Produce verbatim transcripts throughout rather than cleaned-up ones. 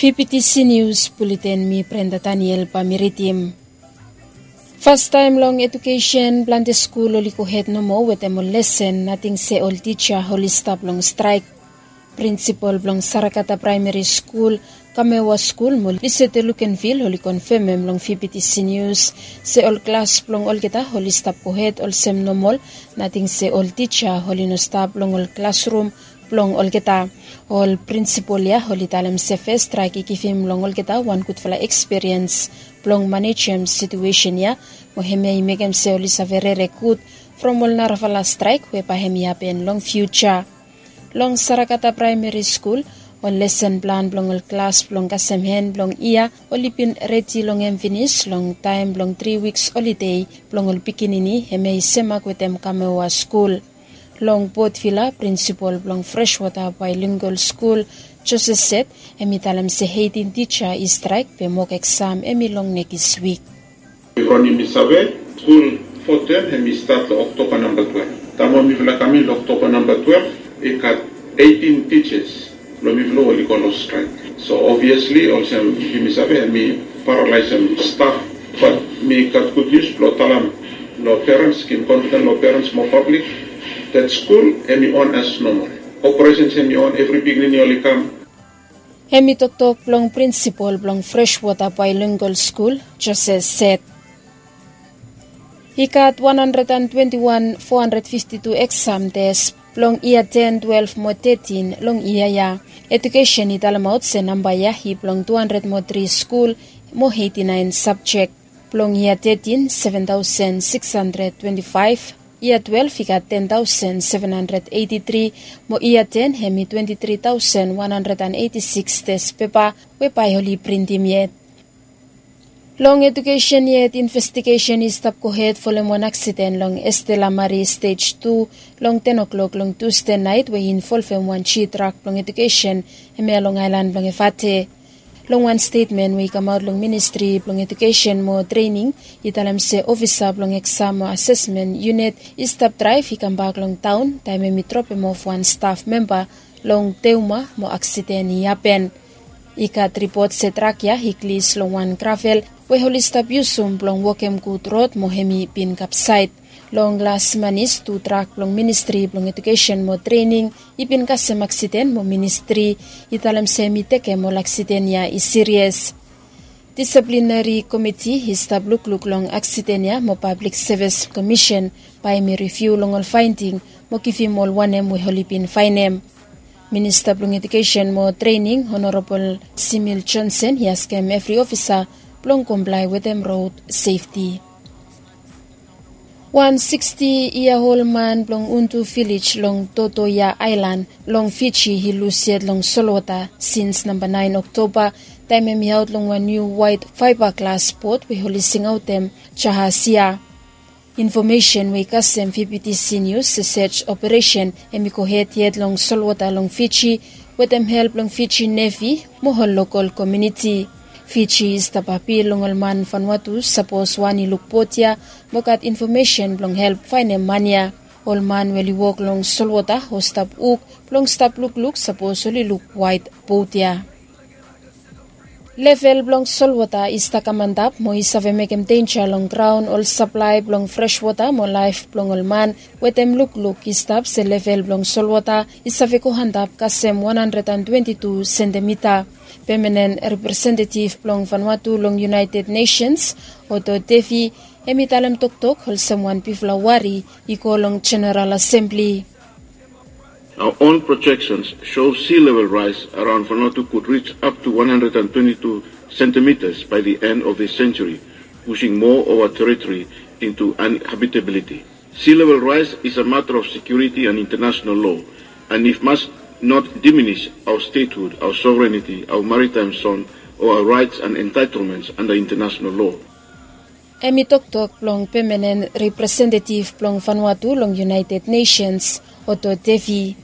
P P T C News Bulletin, mi Brenda Daniel bae mi ridim. Fastaem long edukesen, plante skul oli gohed nomo wetem ol lesen, nating se ol tija oli stap long straek. Prinsipol blong Sarakata Praemeri Skul, Kamewa Skul mo Lisete Lukenvil oli konfemem long P P T C News se ol klas blong olgeta oli stap gohed olsem nomol, nating se ol tija oli no stap long ol klasrum blong olgeta. Ol prinsipol ya oli talem se fes straek i givim long olgeta wan gudfala ekspiriens blong manejem situesen ya, mo hemia i mekem se oli save rere gud from ol narafala straek we bae hem i hapen long fiuja. Long Sarakata Praemeri Skul, ol lesen plan blong ol klas blong kasem hen blong yia oli bin redi long hem finis long taem blong tri wiks holide blong ol pikinini, hemia i semak wetem Kamewa Skul. Long Potvila, prinsipol blong Freshwater Bilingual Skul, Joseph Seth, hem i talem se eitin tija i straek be mok eksam hem i long nekis wik. From yumi save, skul fo tem hem i stat long Oktoba namba twelve. Taem we mifala kam in long Oktoba namba twelve, i gat eitin tijas blong mifala oli go long straek. So obviasli olsem yumi save, hem i paralaesem staf. Bat mi gat gud nius blong talem long perens, givim konfiden long perens mo pablik, dat skul hem i on as nomol. Operesens hem i on, evri pikinini oli kam. Hem i toktok blong prinsipol blong Freshwater Bilingual Skul, Joseph Seth. I gat wan handred an twenti wan fo handred fifti tu eksam tes blong yia ten, twelef mo tetin long yia ya. Edukesen i talemaot se namba ya i blong tu handred mo tri skul mo eiti naen sabjek. Blong yia tetin, seven taosen sikis handred twenti faef, yia twelef i gat ten taosen seven handred eiti tri, mo yia ten hem i twenti tri taosen wan handred an eiti sikis tes pepa we bae oli printim yet. Long edukesen yet, investigesen i stap gohed folem wan aksiden long Estela Marie Stej tu long ten o'klok long Tusde naet we i involvem wan G trak blong edukesen hemia long aelan blong Efate. Long wan stetmen we i kamaot long Ministri blong Edukesen mo Trening, i talem se ofisa blong eksam mo asesmen yunit i stap draev i kambak long taon taem hem i dropemof wan staf memba long Teuma mo aksiden i hapen. I gat ripot se trak ya i glis long wan gravel we oli stap yusum blong wokem gud rod mo hem i bin kapsaed. Long las manis, tu trak blong Ministri blong Edukesen mo Trening i bin kasem aksiden mo ministri i talem se hem i tekem ol aksiden ya i sirias. Disiplineri komiti i stap lukluk long aksiden ya mo Pablik Sevis Komisen bae hem i riviu long ol faending mo givim ol wanem we oli bin faenem. Minista blong Edukesen mo Trening, Honorabol Simil Jonsen, i askem evri ofisa blong komplae wetem rod sefti. Wan siksti yia ol man blong Undu Vilej long Totoya Aelan long Fiji i lus yet long solwota sins namba naen Oktoba, taem hem i aot long wan niu waet faeba glas bot we oli singaotem Jahasia. Infomesen we i kasem P P T C Nius se sej operesen hem i gohed yet long solwota long Fiji wetem help blong Fiji Nevi mo ol lokol komuniti. Fiji i stap apil long ol man Vanuatu sapos wan i luk bot ya mo gat infomesen blong help faenem man ya. Ol man we oli wok long solwota o stap wok blong stap lukluk sapos oli luk waet bot ya. Level blong solwota i stap kam antap mo i save mekem denja long graon, ol saplae blong freswota mo laef blong ol man wetem lukluk i stap se level blong solwota i save go antap kasem wan handred an twenti tu sentimita. Pemanen representetif blong Vanuatu long United Nations, Otto Devi, hem i talem toktok olsem wan bigfala wari i go long Jeneral Asembli. Our own projections show sea level rise around Vanuatu could reach up to one hundred twenty-two centimeters by the end of this century, pushing more of our territory into uninhabitability. Sea level rise is a matter of security and international law, and it must not diminish our statehood, our sovereignty, our maritime zone, or our rights and entitlements under international law. Hem i toktok blong pemanen representetif blong Vanuatu long United Nations, Otto Devi.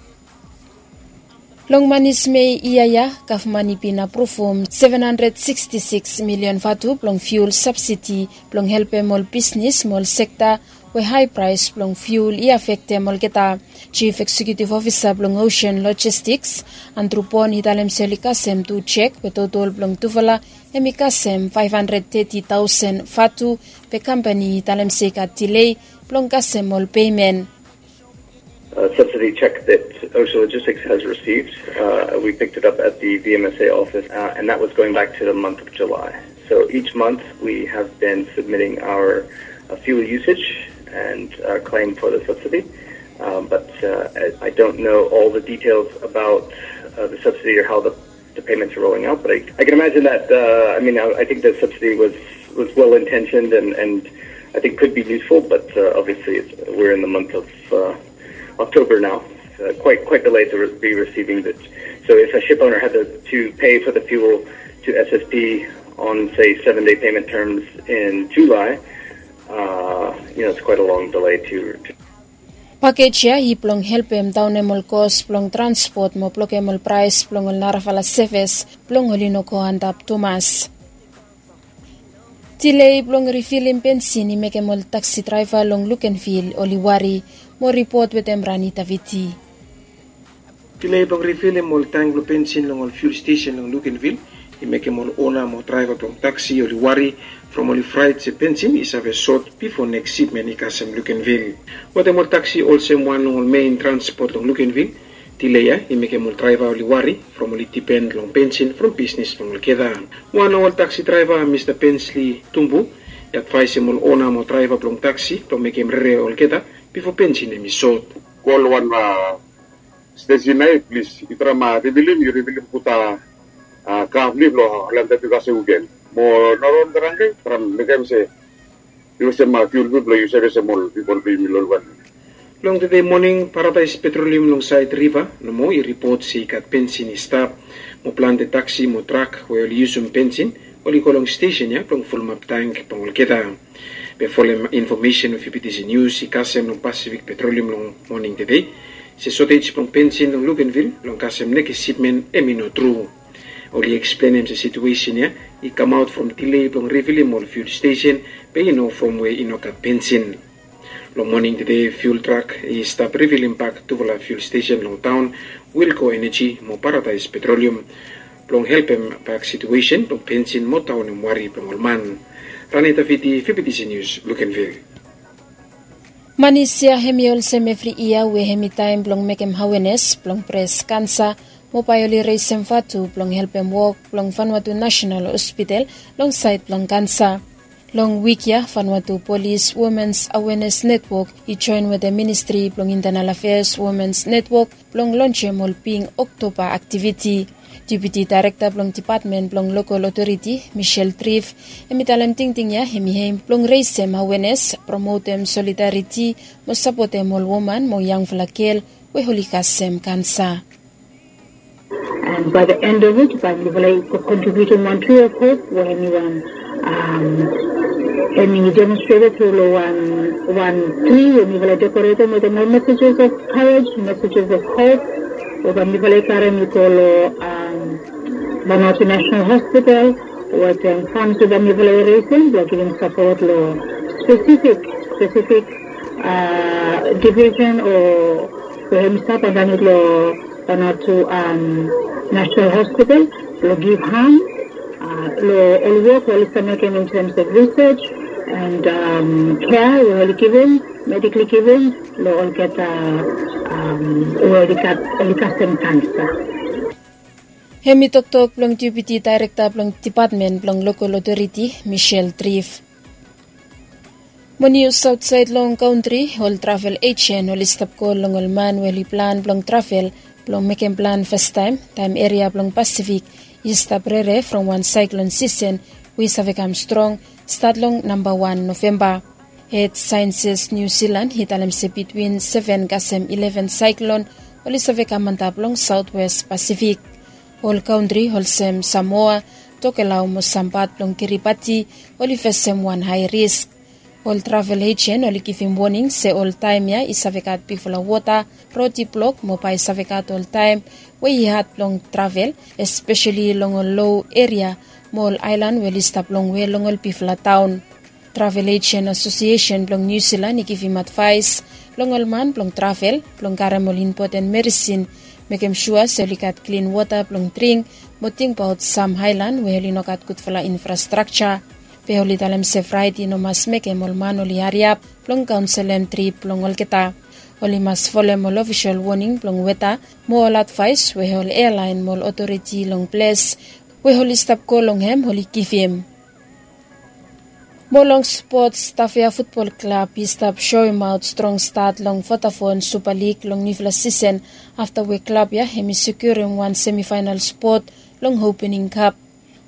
Long manis Mei yia ya, gavman i bin apruvum seven hundred sixty-six million vatu blong fuel subsidy blong helpem ol bisnis mo ol sekta we hae praes blong fiul i afektem olgeta. Jif Eksekutif Ofisa blong Osen Lojistiks, Andru Bon, i talem se oli kasem tu jek we totol blong tufala hem i kasem faef handred teti taosen vatu, be kampani i talem se i gat dilei blong kasem ol pemen. A subsidy check that Ocean Logistics has received. Uh, we picked it up at the V M S A office, uh, and that was going back to the month of July. So each month we have been submitting our uh, fuel usage and our claim for the subsidy. Um, but uh, I, I don't know all the details about uh, the subsidy or how the the payments are rolling out. But I, I can imagine that, uh, I mean, I, I think the subsidy was, was well intentioned and, and I think could be useful, but uh, obviously it's, we're in the month of uh, October now. Uh, quite, quite delayed to re- be receiving this. So if a ship owner had to, to pay for the fuel to S S P on, say, seven day payment terms in July, uh, you know, it's quite a long delay to, to Pakej ya i blong helpem daonem ol kos blong transpot mo blokem ol praes blong ol narafala sevis blong oli no go antap tumas. Dilei blong rifilim bensin i mekem ol taksi draeva long Lukenvil oli wari. Mo ripot wetem Rani Daviti. Dilei blong rifilim ol tang blong bensin long ol fiul stesen long Lukenvil i mekem ol ona mo draeva blong taksi oli wari from oli fraet se bensin i save sot bifo neks sipmen i kasem Lukenvil. Wetem ol taksi olsem wan long ol mein transpot long Lukenvil, dilei ya i mekem ol draeva oli wari from oli dipen long bensin from bisnis blong olgeta. Wan long ol taksi draeva, Mista Pensli Tumbu, i advaesem ol ona mo draeva blong taksi blong mekem rere olgeta bifo bensin hem i sot. Go long wan stesen ya, plis yu traem rivilim, yu rivilim gud a kafli blong holem dat yu kasem wiken. Mo no ron drangke traem mekem se yu olsem fiul gud blong yu save olsem ol pipol blong yumi long wan. Long tede moning, Paradaes Petrolium long saed riva nomo i ripot se i gat bensin i stap mo plante taksi mo trak we oli yusum bensin oli go long stesen ya blong fulumap tang blong olgeta. Be folem infomesen we Fifitisi Nius i kasem long Pasifik Petrolium long moning tede, se sotej blong bensin long Lukenvil blong kasem nekis sipmen hem i no tru. Oli eksplenem se situesen ya i kamaot from dilei blong rivilim ol fiul stesen, be i no from we i no gat bensin. Long moning tede fiul trak i stap rivilim bak tufala fiul stesen long taon, Wilco Energy mo Paradaes Petrolium, blong helpem bak situesen blong bensin mo daonem wari blong ol man. Rani Daviti, Fifitisi Nius, Lukenvil. Manis ya hem i olsem evri yia we hem i taem blong mekem awenes blong pres kansa, mo bae oli resem vatu blong helpem wok blong Vanuatu Nasenal Hospital long saed blong kansa. Long wik ya Vanuatu Polis Womens Awenes Netwok i joen wetem Ministri blong Intenal Afeas Womens Netwok blong lonsem ol bing Oktoba aktiviti. Deputi Daerekta blong Depatmen blong Lokol Otoriti, Michelle Triff, hem i talem tingting ya hem i hem blong resem awenes, promotem solidariti mo sapotem ol woman mo yangfala gel we oli kasem kansa. And by the end of it, bae mifala i go contributing one tree of hope we hemi wan, um, hemi demonstrated through lo one, one tree we mifala decorated with the messages of courage, messages of hope. We bae mifala i karem i go lo, um, Vanuatu National Hospital with, um, funds we bae mifala i raising, we are giving support lo specific, specific, uh, division o we hemi stap andanit lo Vanuatu, um, National Hospital, lo give hand, uh, lo ol wok we oli stap mekem in terms of research and, um, care we oli giving, medically giving, lo olgeta, um, we oli gat, oli kasem kansa. Hemi toktok blong Deputi Daerekta blong Depatmen blong Lokol Otoriti, Michelle Triff. Mo nius aotsaed long kantri, ol travel ejen oli stap kol long ol man we oli plan blong travel blong mekem plan fastaem, taem eria blong Pasifik i stap rere from wan saeklon sisen we i save kam strong, stat long namba wan Novemba. Hed Saenses Niu Silan i talem se bitwin seven kasem ileven saeklon oli save kam antap long Saotwes Pasifik. Ol kantri olsem Samoa, Tokelau mo sam pat blong Kiribati oli fesem wan hae risk. Ol travel ejen oli givim woning se ol taem ya i save gat bigfala wota, rod i blok mo bae i save gat ol taem we i had blong travel, espeseli long ol loa eria mo ol aelan we oli stap longwe long ol bigfala taon. Travel Asian Asosiesen blong Niu Silan i givim advaes long ol man blong travel blong karem ol impoten medisin, mekem sua se oli gat klin wota blong dring, mo tingbaot sam aelan we oli no gat gudfala infrastrakja. Be oli talem se fraet i no mas mekem ol man oli hariap blong kaonselem trip blong olgeta. Oli mas folem ol ofisol woning blong weta mo ol advaes we ol ealaen mo ol otoriti long ples we oli stap go long hem oli givim. Mo long spots, Tafea Futbol Klab i stap soemaot strong stat long Vodafone Supa Lig long niufala sisen, afta we klab ya hem i sekiurim wan semifaenal spot long opening kap.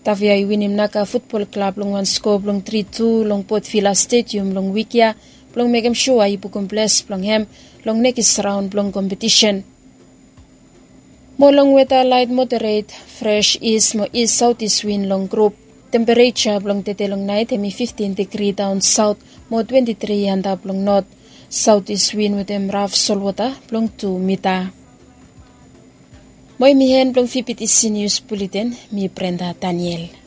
Tafea i winim Naka Futbol Klab long wan skoa blong tri tu long Potvila Stedium long wik ya blong mekem sua i bukum ples blong hem long nekis raon blong kompetisen. Mo long weta, laet moderet, fres is mo is saotis win long grup. Tempereja blong tede long naet hem i fiftin digri daon saot mo twenti tri antap long not. Saotis win wetem raf solwota blong tu mita. Mo hem i en blong vptc nius buleten. Mi Brenda Daniel.